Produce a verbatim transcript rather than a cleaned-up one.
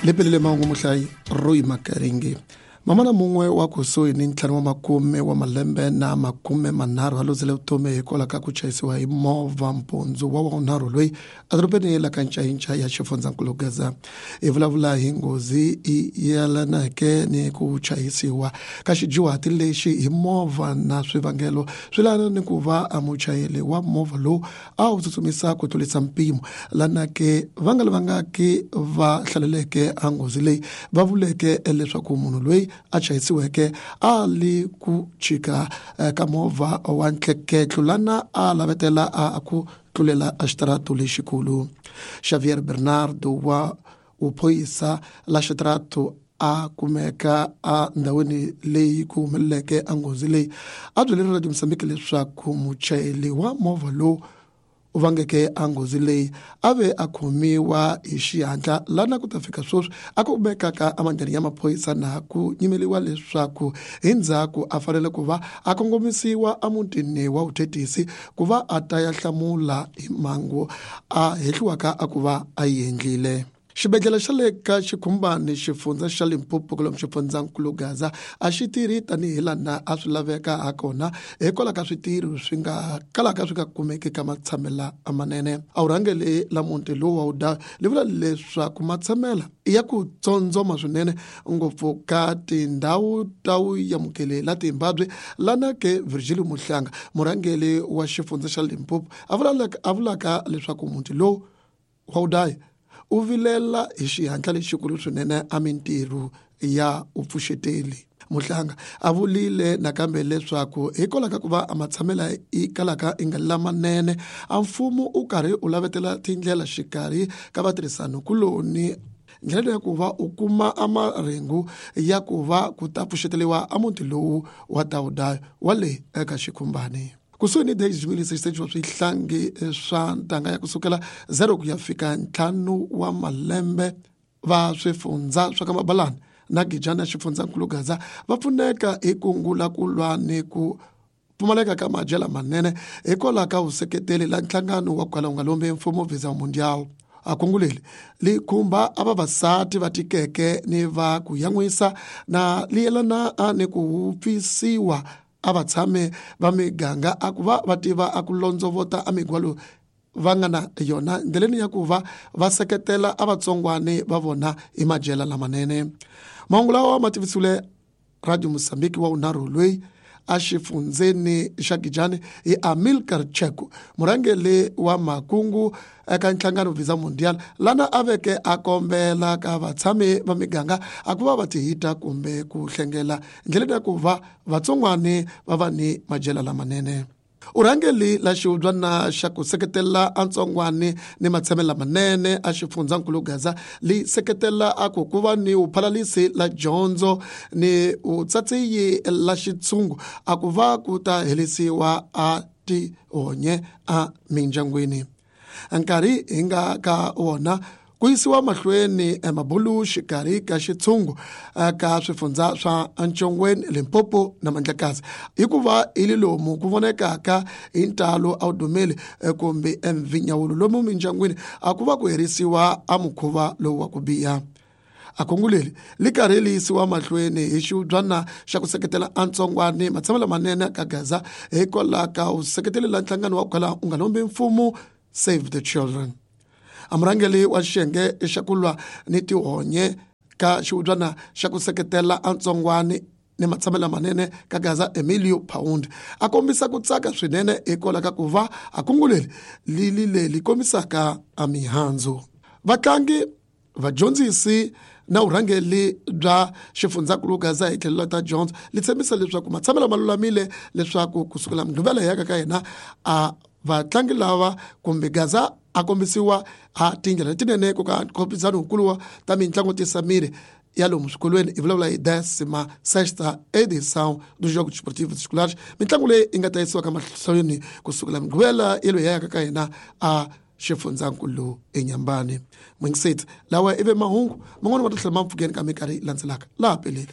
Lepelele mahungu muhlayi Roy Makaringi. Mamana mun'we wa kusuhi ni ntlhanu wa makume wa malembe na makume manharhu a luzile vutomi hikwalaho ka ku chayisiwa hi movha mpundzu wa wunharhu loyi edorobeni la ka Ncayinca ya xifundzankulu Gaza. Hi vulavula hi nghozi yelaneke ni ku chayisiwa ka xidyuhati lexi hi movha na swivangelo swi lana ni ku va a muchayeri wa movha lowu a wu tsutsumisa ku tlurisa mpimo lanake va nga lavangaki va hlaleleke a nghozi leyi va vuleke leswaku munhu loyi a chayisiweke a li ku chika ka movha wa ntleketlo lana a lavetela a ku tlulela a xitarato lexikulu. Xavier Bernardo wa uphoyisa la xitarato a kumeka a ndhawini leyi ku humeleleke a nghozi leyi a byele Radio Mozambique leswaku muchayeri wa movha lowu u vangeke a nghozi leyi a ve a khomiwa hi xihatla lana ku ta fika sweswi a ku kumekaka emandleni ya maphorisa na ku nyimeliwa leswaku hi ndzhaku a fanele ku va a kongomisiwa emutini wa vuthetisi ku va a ta ya hlamula hi mhangu a hehliwaka a ku va a yi endlile. Xibedhlele xa le ka Xikhumbani xifundza xa Limpopo kulomu xifundzankulu Gaza a xi tirhi tanihi lana a swi laveka hakona hikwalaho ka switirho swi nga kalaka swi nga kumeki ka matshamela manene. A wu rhangeli la muti lowu wa wuda li vula leswaku matshamela ya ku tsondzoma swinene ngopfu ka tindhawu ta vuyamukeli la Timbabwe lana ke Virgilio Muhlanga murhangeli wa xifundza xa Limpopo a vulaka a vulaka leswaku muti lowu wa wudaya u vilela hi xihatla lexikulu swinene a mintirho ya upfuxeteli. Muhlanga a vulile nakambe leswaku hikwalaho ka ku va a matshamela i kalaka i nga lamanene a mfumo u karhi u lavetela tindlela xikarhi ka vatirhisani-kuloni ndlela ya ku va u kuma a marhengu ya ku va ku ta pfuxeteliwa a muti lowu wa Tawudayo wa le eka Xikhumbani. Kusuhi ni dez mil seiscentos swihlangi swa ntanga ya kusukela zero ku ya fika ntlhanu wa malembe va swifundza swa ka Mabalani na Gijana xifundzankulu Gaza va pfuneka hi kungu la ku lwa ni ku pfumaleka ka madyela manene hikwalaho ka vuseketeli la nhlangano wa kwala wu nga lombi mfumo Visa Mundial. A kungu leri li khumba a vavasati va tikeke ni va ku yan'wisa na li yelana ni ku wupfisiwa a vatshami va miganga a ku va va tiva a ku londzovota a migwalo va nga na yona ndleleni ya ku va va seketela a vatsongwani va vona hi madyela lamanene. Mahungu lawa ma tivisiwile Radio Mozambique wa wunharhu loyi a xifundzeni xa Gijani hi Amilcar Cheko murhangeri wa makungu eka nhlangano Visa Mundial lana a veke a kombela ka vatshami va miganga a ku va va tihita kumbe ku hlengela ndleleni ya ku va vatsongwani va va ni madyela lamanene. Urhangeli la xihubyana xa ku seketela a ntsongwani ni matshamelo lamanene a xifundzankulu Gaza li seketela a ku ku va ni vuphalalisi la dyondzo ni vutsatsiyi la xitshungu a ku va ku ta herisiwa a tihonye a mindyangwini. Nkarhi hi nga ka wona ku yisiwa mahlweni emabulu xikarhi ka xitshungu ka swifundza swa Ntshongweni, Limpopo na Mandlakazi hikuva hi le lomu ku vonekaka hi ntalo a wu dumeli kumbe emvinyawulo lomu mindyangwini a ku va ku herisiwa a mukhuva lowu wa ku biha. A kungu leri li karhi li yisiwa mahlweni hi xihubyana xa ku seketela a ntsongwani matshamelo lamanene ka Gaza hikwalaho ka vuseketeli la nhlangano wa ku kala u nga lombi mfumo Save the Children. A murhangeri wa xiyenge xa ku lwa ni tihonye ka xihubyana xa ku seketela a ntsongwani ni matshamelo lamanene ka Gaza Emilio Pound a kombisa ku tsaka swinene hikwalaho ka ku va a kungu leri li li leri kombisaka a mihandzu. Vatlangi, vadyondzisi na vurhangeri bya xifundzankulu Gaza hi tlhelo ta dyondzo li tshembisa leswaku matshamelo ma lulamile leswaku kusukela Mugqivela hi yaka ka yena a vatlangi lava kumbe Gaza a kombisiwa a tindlela letinene ku ka nkhompisano wukulu wa ta mitlangu tisa miri ya lomu swikolweni hi vulavula hi décima sexta edição dos Jogos Desportivos Escolares mitlangu leyi yi nga ta yisiwa ka mahlweni kusukela Mugqivela yelo hi yaka ka hina a xifundzankulu eNyambani. Mwingiseti lawa ive mahungu man'wana ma ta tlhela ma mpfukeni ka minkarhi landzelaka laha peleni.